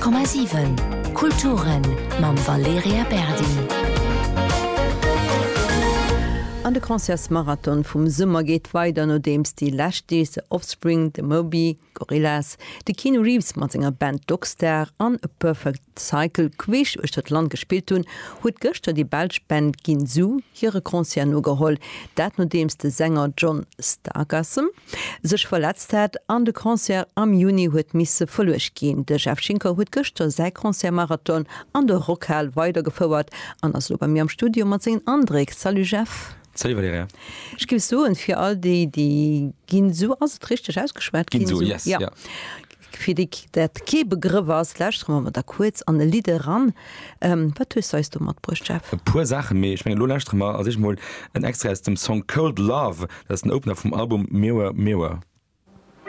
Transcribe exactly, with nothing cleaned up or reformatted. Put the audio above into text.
Komma siwen Kulturen mam Valerija Berdi. An de Concertsmarathon vum Summer geet weider. Nodeems déi lescht Deeg The Offspring, de Moby, Gorillaz, de Keanu Reeves mat senger Band Dogstar an A Perfect Cycle queesch uechter d'Land gespillt hunn, huet gëschter déi belsch Band Ghinzu hire Concert nogeholl. Dat nodeems de Sänger John Stargasm sech verletzt hat an de Concert am Juni huet misse verluecht ginn. De Jeff Schinker huet gëschter säi Concertsmarathon an der Rockhal weidergefouert an ass elo bei mir am Studio mat sengen Andréck. Salut Jeff! Salut Valerija. Ech géif soen, fir all déi, déi Ghinzu, ass et richteg ausgeschwat? Ghinzu, yes, ja. Ja. Fir déi dat kee Begrëff ass, lauschtere mer mol da kuerz an e Lidd eran. Wat hues du eis do matbruecht, Jeff? E puer Saachen, mee ech mengen elo lauschtere mer als éischt mol en Extrait aus dem Song Cold Love, dat ass den Opener vum Album Mirror Mirror.